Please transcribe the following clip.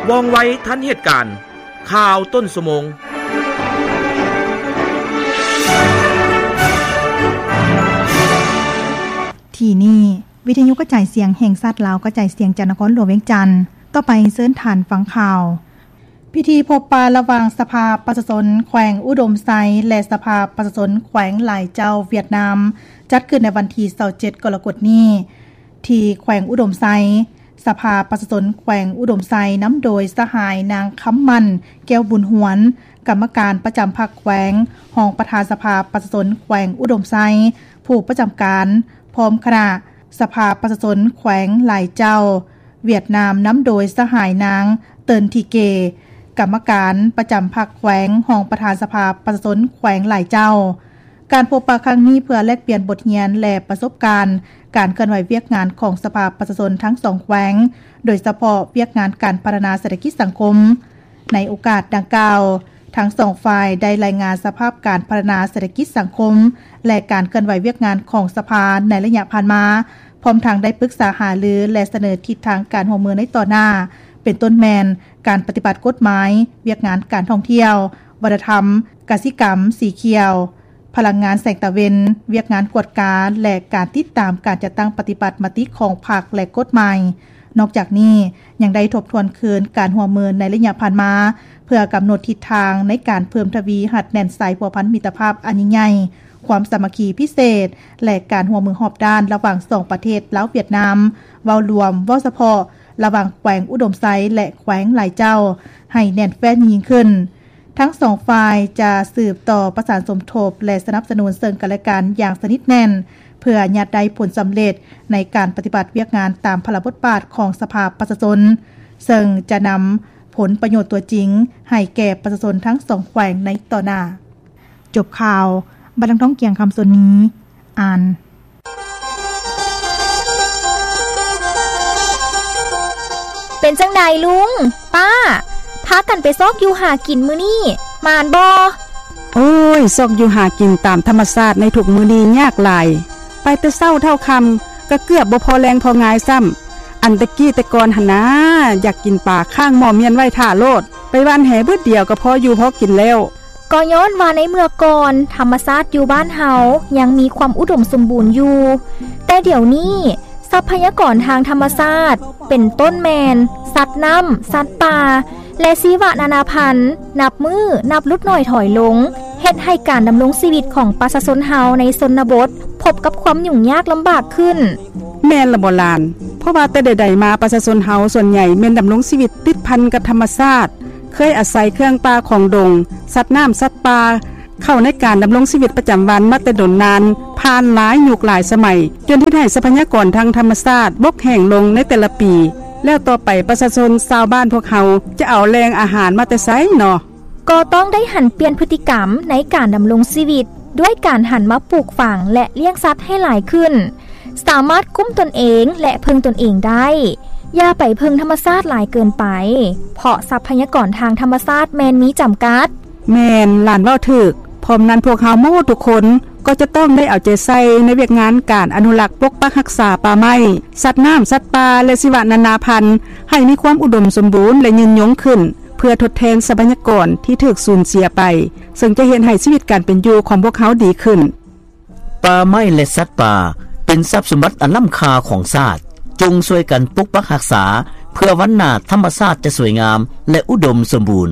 ວ່ອງໄວທັນເຫດການ. ຂ່າວຕົ້ນຊົ່ວໂມງ. ທີ່ນີ້ ວິທະຍຸກະຈາຍສຽງແຫ່ງຊາດລາວ ກະຈາຍສຽງຈາກນະຄອນຫຼວງວຽງຈັນ. ຕໍ່ໄປເຊີນທ່ານຟັງຂ່າວ. ພິທີພົບປະລະຫວ່າງສະພາປະຊາຊົນແຂວງອຸດົມໄຊ ແລະ ສະພາປະຊາຊົນແຂວງຫຼາຍເຈົ້າຫວຽດນາມ ຈັດຂຶ້ນໃນວັນທີຊາວເຈັດ ກໍລະກົດນີ້ ທີ່ແຂວງອຸດົມໄຊ. ສະພາປະຊາຊົນແຂວງອຸດົມໄຊ ນຳໂດຍສະຫາຍນາງ ຄຳໝັ້ນ ແກ້ວບຸນຫວນ ກຳມະການປະຈຳພັກແຂວງ, ຮອງປະທານສະພາປະຊາຊົນແຂວງອຸດົມໄຊ, ຜູ້ປະຈຳການ ພ້ອມຄະນະ ສະພາປະຊາຊົນແຂວງຫຼາຍເຈົ້າຫວຽດນາມ ນຳໂດຍສະຫາຍນາງ ເຕີນ ທີເກ ກຳມະການປະຈຳພັກແຂວງ, ຮອງປະທານສະພາປະຊາຊົນແຂວງຫຼາຍເຈົ້າ. ການພົບປະຄັ້ງນີ້ເພື່ອແລກປ່ຽນບົດຮຽນ ແລະ ປະສົບການການເຄື່ອນໄຫວວຽກງານຂອງສະພາປະຊາຊົນທັງສອງແຂວງ, ໂດຍສະເພາະວຽກງານການພັດທະນາເສດຖະກິດສັງຄົມ. ໃນໂອກາດດັ່ງກ່າວ, ທັງສອງຝ່າຍໄດ້ລາຍງານສະພາບການພັດທະນາເສດຖະກິດສັງຄົມ ແລະ ການເຄື່ອນໄຫວວຽກງານຂອງສະພາໃນໄລຍະຜ່ານມາ, ພ້ອມທັງໄດ້ປຶກສາຫາລື ແລະ ສະເໜີທິດທາງການຮ່ວມມືໃນຕໍ່ໜ້າ, ເປັນຕົ້ນແມ່ນການປະຕິບັດກົດໝາຍ, ວຽກງານການທ່ອງທ່ຽວ, ວັດທະນະທຳ, ກະສິກຳສີຂຽວ, ພະລັງງານແສງຕາເວັນ, ວຽກງານກວດກາ ແລະ ການຕິດຕາມການຈັດຕັ້ງປະຕິບັດມະຕິຂອງພັກ ແລະ ກົດໝາຍ. ນອກຈາກນີ້, ຍັງໄດ້ທົບທວນຄືນການຮ່ວມມືໃນໄລຍະຜ່ານມາ, ເພື່ອກຳນົດທິດທາງໃນການເພີ່ມທະວີຮັດແໜ້ນສາຍພົວພັນມິດຕະພາບອັນຍິ່ງໃຫຍ່, ຄວາມສາມັກຄີພິເສດ ແລະ ການຮ່ວມມືຮອບດ້ານລະຫວ່າງສອງປະເທດລາວ-ຫວຽດນາມ ເວົ້າລວມ, ເວົ້າສະເພາະ ລະຫວ່າງແຂວງອຸດົມໄຊ ແລະ ແຂວງຫຼາຍເຈົ້າ ໃຫ້ແໜ້ນແຟ້ນຍິ່ງຂຶ້ນ. ທັງສອງຝ່າຍຈະສືບຕໍ່ປະສານສົມທົບ ແລະ ສະໜັບສະໜູນເຊິ່ງກັນແລະກັນຢ່າງສະໜິດແໜ້ນ ເພື່ອຍາດໄດ້ຜົນສຳເລັດໃນການປະຕິບັດວຽກງານຕາມພາລະບົດບາດຂອງສະພາປະຊາຊົນ, ເຊິ່ງຈະນຳຜົນປະໂຫຍດຕົວຈິງໃຫ້ແກ່ປະຊາຊົນທັງສອງແຂວງໃນຕໍ່ໜ້າ. ຈົບຂ່າວ, ບັດນາງ ທອງກຽງ ຄຳສົນນີ ອ່ານ. ເປັນຈັ່ງໃດລຸງ, ປ້າ, ພາກັນໄປຊອກຢູ່ຫາກິນມື້ນີ້ ໝານບໍ່? ໂອ້ຍ, ຊອກຢູ່ຫາກິນຕາມທຳມະຊາດໃນທຸກມື້ນີ້ຍາກຫຼາຍ. ໄປແຕ່ເຊົ້າເທົ່າຄ່ຳ ກໍເກືອບບໍ່ພໍແລງພໍງາຍຊ້ຳ. ອັນແຕ່ກີ້ແຕ່ກ່ອນຫັ້ນນາ, ຢາກກິນປາຄ້າງໝໍ້ມຽນໄວ້ຖ້າໂລດ, ໄປຫວ່ານແຫບຶດດຽວກໍພໍຢູ່ພໍກິນແລ້ວ. ກໍຍ້ອນວ່າໃນເມື່ອກ່ອນ ທຳມະຊາດຢູ່ບ້ານເຮົາຍັງມີຄວາມອຸດົມສົມບູນຢູ່, ແຕ່ດຽວນີ້ ຊັບພະຍາກອນທາງທຳມະຊາດ ເປັນຕົ້ນແມ່ນ ສັດນ້ຳ, ສັດປ່າ ແລະ ຊີວະນານາພັນ ນັບມື້ນັບຫຼຸດໜ້ອຍຖອຍລົງ, ເຮັດໃຫ້ການດຳລົງຊີວິດຂອງປະຊາຊົນເຮົາໃນຊົນນະບົດ ພົບກັບຄວາມຫຍຸ້ງຍາກລຳບາກຂຶ້ນ. ແມ່ນລະບໍ່ຫຼານ? ເພາະວ່າແຕ່ໃດໆມາ ປະຊາຊົນເຮົາສ່ວນໃຫຍ່ແມ່ນດຳລົງຊີວິດຕິດພັນກັບທຳມະຊາດ, ເຄີຍອາໄສເຄື່ອງປ່າຂອງດົງ, ສັດນ້ຳ, ສັດປ່າ ເຂົ້າໃນການດຳລົງຊີວິດປະຈຳວັນມາແຕ່ດົນນານ, ຜ່ານຫຼາຍຍຸກຫຼາຍສະໄໝ, ຈົນເຮັດໃຫ້ຊັບພະຍາກອນທາງທຳມະຊາດບົກແຫ້ງລົງໃນແຕ່ລະປີ. ແລ້ວຕໍ່ໄປປະຊາຊົນຊາວບ້ານພວກເຮົາຈະເອົາແຫຼ່ງອາຫານມາແຕ່ໃສເນາະ? ກໍຕ້ອງໄດ້ຫັນປ່ຽນພຶດຕິກຳໃນການດຳລົງຊີວິດ ດ້ວຍການຫັນມາປູກຝັງ ແລະ ລ້ຽງສັດໃຫ້ຫຼາຍຂຶ້ນ, ສາມາດກຸ້ມຕົນເອງ ແລະ ເພິ່ງຕົນເອງໄດ້. ຢ່າໄປເພິ່ງທຳມະຊາດຫຼາຍເກີນໄປ, ເພາະຊັບພະຍາກອນທາງທຳມະຊາດແມ່ນມີຈຳກັດ. ແມ່ນ, ຫຼານເວົ້າຖືກ. ພ້ອມນັ້ນ, ພວກເຮົາໝົດທຸກຄົນກໍຈະຕ້ອງໄດ້ເອົາໃຈໃສ່ໃນວຽກງານການອະນຸລັກປົກປັກຮັກສາປ່າໄມ້, ສັດນ້ຳ, ສັດປ່າ ແລະ ຊີວະນານາພັນ ໃຫ້ມີຄວາມອຸດົມສົມບູນ ແລະ ຍືນຍົງຂຶ້ນ, ເພື່ອທົດແທນຊັບພະຍາກອນທີ່ຖືກສູນເສຍໄປ, ເຊິ່ງຈະເຮັດໃຫ້ຊີວິດການເປັນຢູ່ຂອງພວກເຮົາດີຂຶ້ນ. ປ່າໄມ້ ແລະ ສັດປ່າ ເປັນຊັບສົມບັດອັນລ້ຳຄ່າຂອງຊາດ. ຈົ່ງຊ່ວຍກັນປົກປັກຮັກສາ ເພື່ອວັນໜ້າທຳມະຊາດຈະສວຍງາມ ແລະ ອຸດົມສົມບູນ.